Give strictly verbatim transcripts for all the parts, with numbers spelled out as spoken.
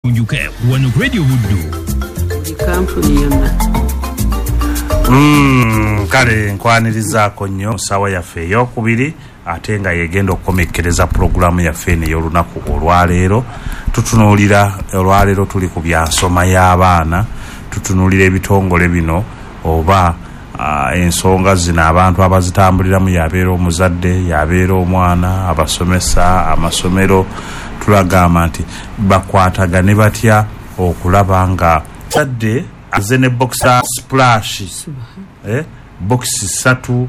Njuke wano ku Radio Buddu. Kampuni yonna. Mm, kale nkwanirizaako nnyo ssaawa yaffe eyokubiri, ate nga yegenda okukomekkereza pulogulaamu yaffe eno ey'olunaku olwaleero. Tutunuulira olwaleero tuli ku byansoma y'abaana, tutunuulira ebitongole bino oba uh, ensonga zino abantu abazitambuliramu, yabeera omuzadde, yabeera omwana, abasomesa, amasomero. Tulagamba nti bakwatagane batya okulaba nga zadde aze ne boxer splash eh, box ssatu,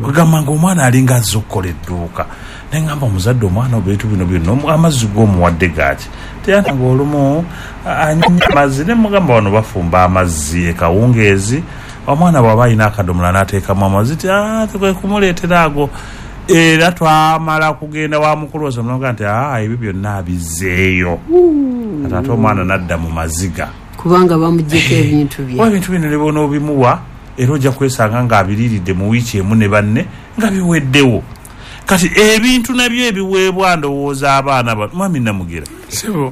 kugamba nga omwana alinga azze okukola edduuka. Neŋŋamba omuzadde, omwana obeetu bino byonna amazzi g'omuwadde gaaki? Teyanga olumu anywa amazzi. Ne mugamba wano bafumba amazzi ekawungeezi, omwana bw'aba alina akadomola n'ateekamu amazzi, ti tekwe kumuleetera ago. Era twamala kugenda wa mukulu oza nti aa ebyo byonna abizzeeyo, ate ate omwana n'adda mu maziga kubanga bamugyeko ebintu bye. Ebintu bino ne bw'onoobimuwa era ojja kwesanga ng'abiriiridde mu wiiki emu ne banne nga biweddewo. Kati ebintu nabyo ebiweebwa ndowooza abaana bano, mwami Namugera,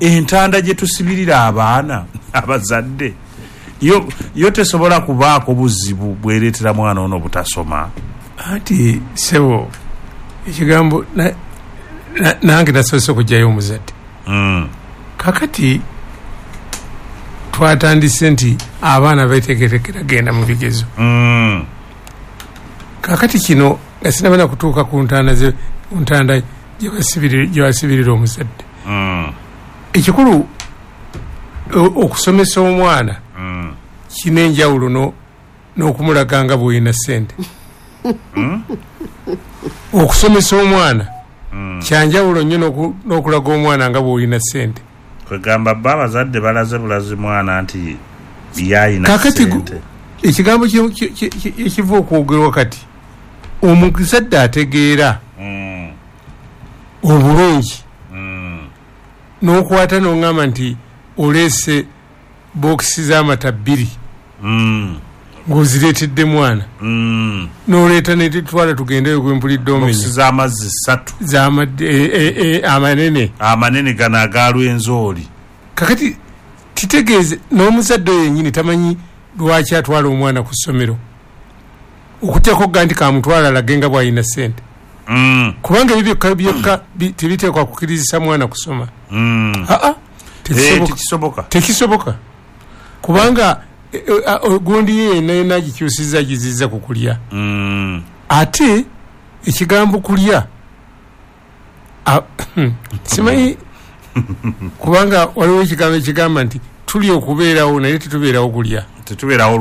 entanda gye tusibirira abaana abazadde yo, yo tesobola kubaako buzibu bwereetera mwana ono butasoma. Ati sebo ekigambo nange nasoose okugyayo omuzadde. Mm. Kakati twatandise nti abaana betegerekera genda mu bigezo. Mm. Kakati kino nga sinabana kutuuka ku ntanda ze ntanda gye basibirira omuzadde. Mm. Ekikulu okusomesa omwana mm. kina enjawulo n'okumulaga nga bw'olina ssente. Mm. Okusomesa omwana mm. kyanjawulo nnyo n'okulaga omwana nga bw'olina ssente. Kwegamba bba abazadde balaze bulazi mwana nti yayina ssente. Ekigambo ekiva okwogerwa kati omuzadde ategeera mm. obulungi mm. n'okwata n'oŋŋamba nti oleese bookisi z'amata bbiri mm. ng'ozireetedde mwana mm. n'oleeta netutwala tugendeyo gwe mpulidde omenya bookisi z'amazzi ssatu amanene amanene gano aga Lwenzori. Kakati kitegeeze n'omuzadde oyo yennyini tamanyi lwaki atwala omwana ku ssomero, okutyako ga nti kamutwala alage nga bw'alina ssente. Mm. Kubanga ebyo byokka byokka tebiteekwa kukkirizisa mwana kusoma. Mm. Aa tekisoboka, tekisoboka kubanga gundi ye yenna yenna agikyusizza agizizza ku kulya. Mm. Ate ekigambo kulya simanyi kubanga waliwo ekigambo ekigamba nti tuli okubeerawo naye tetubeerawo kulya, tetubeerawo.